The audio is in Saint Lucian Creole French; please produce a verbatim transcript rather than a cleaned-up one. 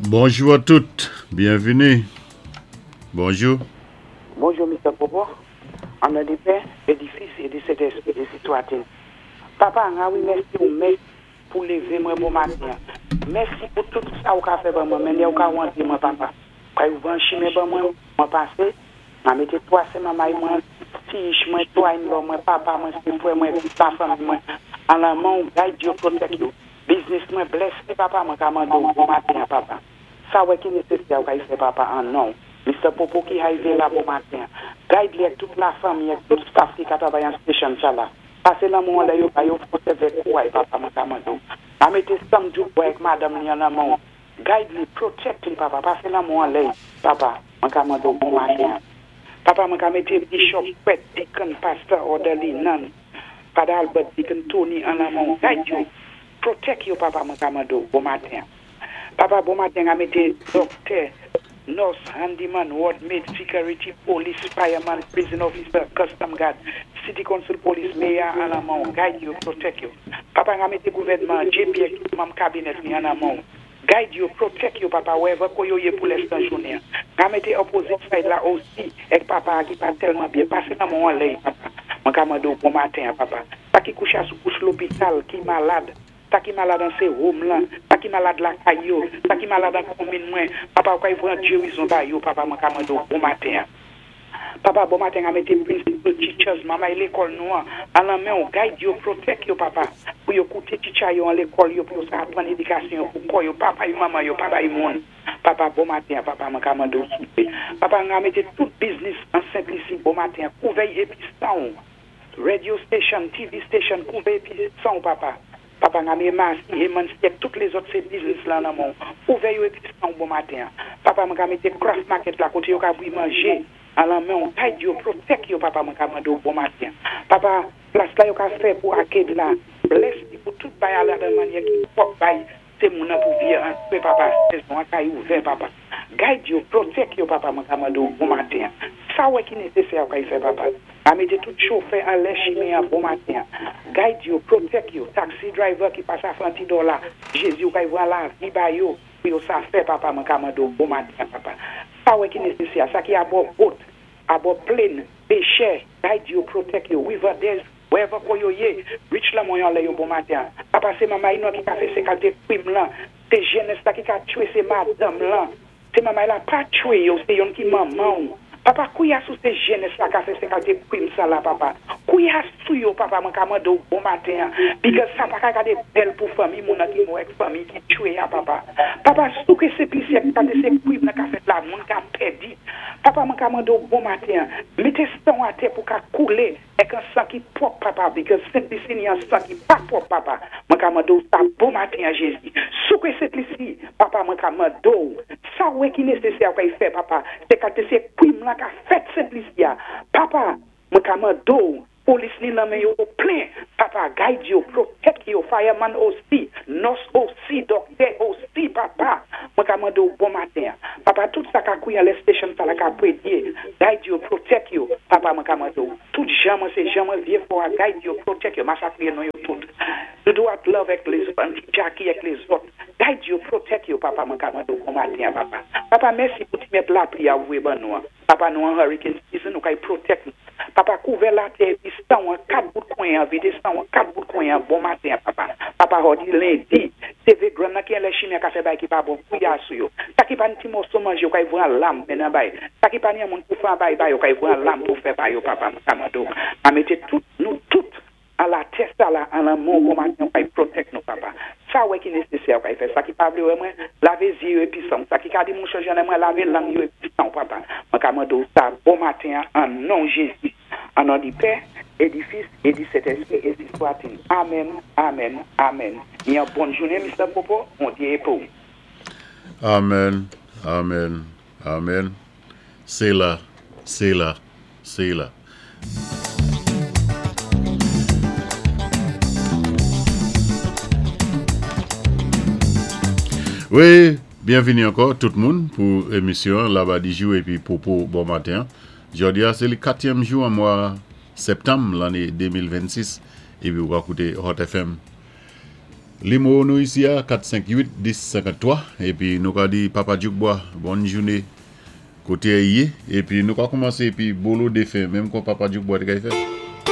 Bonjou a tout, byenvini. Bonjou. Bonjou, Mister Popo. An non di Pè, é di Fis, é di Sentèspwi, ensi swat-il. Papa, wi, mèsi ou mèsi pou lévé mwen bon maten. Mèsi pou tout sa ou ka fè ban mwen, men ou ka wandi mwen, papa. Ka ou ban chimen ban mwen, mwen pasé, mwen mété twa sé manmay mwen, ti mwen, twa in-law mwen, papa mwen, sé frè mwen, la fanmi mwen. An lanmen ou, guide yo, protect yo. Business mwen, bless papa, mwen ka mandé ou bon maten, papa. Sa wè ki nésésè ou ka fè, papa, an non. Mister Popo ki arivé la bon maten. Guide li ak tout la fanmi, ak tout staff ki ka travay an station sa la. Pasé lanmen ou la yo, ba yo fòs avèk kouway, papa, mwen ka mandé ou. A mété Sam Djouk ak madanm li an lanmen ou. Guide li, protect li, papa. Pasé lanmen ou anlè, papa, mwen ka mandé ou bon maten. Papa, mwen ka mété Bishop, Pet, Deacon, Pastor, Orderly, Nun, Father Albert, Deacon Tony an lanmen ou. Guide yo, protect yo, papa, mwen ka mandé ou bon maten. Papa, bon maten, a mété doctor, nurse, handyman, ward maid, security, police, fireman, prison officer, custom guard, city council police, mayor an lanmen ou, guide yo, protect yo. Papa, a mété gouvèdman, J P, manm cabinet ni an lanmen ou. Guide yo, protect yo, papa, wherever ko yo yé pou lèstan jounen. A mété opposite side la osi, ek papa ki pa tèlman byen, pasé lanmen ou anlè, papa. Mwen ka mandé ou bon maten, papa. Sa ki koucha sou kouch lopital, ki malad, sa ki malad an sé home lan, sa ki malad lakay yo, sa ki malad an konmin mwen, papa, ou ka pran gerizon ba yo, papa, mwen ka mandé ou bon maten. Papa, bon maten, a mété principal, teachers, manmay lékòl nou an, an lanmen ou, guide yo, protect yo, papa, pou yo kouté teacher yo an lékòl yo, pou yo sa aprann édikasyon pou kò yo, papa yo, manman yo, papa yo moun. Papa, bon maten, papa, mwen ka mandé ou soupé. Papa, a mété tout business an Sent Lisi, bon maten, kouvè épi san ou. Radio station, T V station, kouvè épi san ou, papa. Papa, nga mé Masi, e Mansi, tout les autres sé business la nan men ou. Kouvè yo épi san ou, bon maten. Papa, mwen ka mété craft market la, koté yo ka bwi manjé, an lanmen ou, guide yo, protect yo, papa, mwen ka mandé ou bon maten. Papa, plas la yo ka fè pou arcade la, bless li pou tout bay ala de manyè ki pwòp bay, sé moun nan pou vié an pè, papa, sezon an kay ouvè, papa. Guide yo, protect yo, papa, mwen ka mandé ou bon maten. Sa wè ki nésésè ou ka fè, papa. A mété tout chofè an lè chimen an bon maten. Guide yo, protect yo, taxi driver ki pasa fè an ti dòla, Jésus ou ka vwa lavi ba yo, pou yo sa fè, papa, mwen ka mandé ou bon maten, papa. Sa wè ki nésésè, sa ki abò boat, abò plane, pêchè, guide yo, protect yo, Riverdale, wherever ko yo yé, reach lanmen ou anlè yo bon maten. Papa, sé manmay nou ki ka fè sé kalté kwim lan, sé jenès la ki ka tchwé sé madanm lan, sé manmay la pa tchwé yo, sé yon ki manman ou. Papa, kouya sou sé jenès la ka fè sé kalté kwim sa la, papa. Kouya sou yo, papa, mwen ka mandé ou bon maten. Because sa pa ka gadé bèl pou fanmi moun nan ki mou ek fanmi ki tchwé ya, papa. Papa, sou ke sé plis ek kalté sé kwim nan ka fèt la, moun ka pèdi. Papa, mwen ka mandé ou bon maten. Mété san atè pou ka koulé ek an san ki pwòp, papa, because Sent Lisi ni an san ki pa pwòp, papa. Mwen ka mandé ou sa bon maten a Jésus. Sou ke Sent Lisi, papa, mwen ka mandé ou. Sa wè ki nésésè ou ka y fè, papa. Se kalté sé kwim lan ka fèt Sent Lisi ya. Papa, mwen ka mandé ou. Polis ni lanmen yo plen. Papa, guide yo, protect yo, fireman osi, nurse osi, doctor osi, papa. Mwen ka mandé ou bon maten. Papa, tout sa ka kouy an lè station sa la ka predye. Guide yo, protect yo. Papa, mwen ka mandé ou. Tout jan mwen sé jan mwen vyé fwa, guide yo, protect yo. Masakre nou yo tout. Doudou at love ek les autres, Jackie ek les autres. Guide yo, protect yo, papa, mwen ka mandé ou bon maten, papa. Papa, mèsi pou ti mèt lapli a ouwe ban nou. Papa, nou an hurricane season, nou kay protect nou. Papa, kouvè latè, pi san an kat bout kwen an, vidé san an kat bout kwen an, bon maten, papa. Papa, jòdi lendi, se gran nan ki an lè chimen ka fè bay ki pa bon, kouya sou yo. Sa ki pa ni ti moso manje, yo kay vran lam men nan bay. Sa ki pa ni an moun pou fè bay bay, yo kay vran lam pou fè bay yo, papa, mwen ka mandé ou. A mété tout, nou tout, an latè sa la, an lan moun, bon maten, yo kay protect nou, papa. Sa wè ki nésésè, yo kay fè. Sa ki pa vlé wè mwen, lavé zyé yo épi san. Sa ki ka di moun chanje nan mwen, lavé lang yo épi san, papa. Mwen ka mandé ou sa, bon maten, an non Jésus. An non di Pè, é di Fis, é di Sentèspwi, ensi swat-il. Amen, amen, amen. Ni an bòn jounen, Mister Popo, Bondyé pou. Amen, amen, amen. Séla, séla, séla. Wi, byenvini ankò tout moun pou émisyon Labadi Jou épi Popo bon maten. Jòdi a, sé katyèm jou an mwa septanm lanné de mil vennsis épi ou va kouté Hot F M. Nimewo nou isi a kat senk uit dis senkanntwa épi nou ka di Papa Djoukbois bòn jouné koté i yé épi nou ka koumansé épi bolo défen menm kon Papa Djoukbois té kay fè.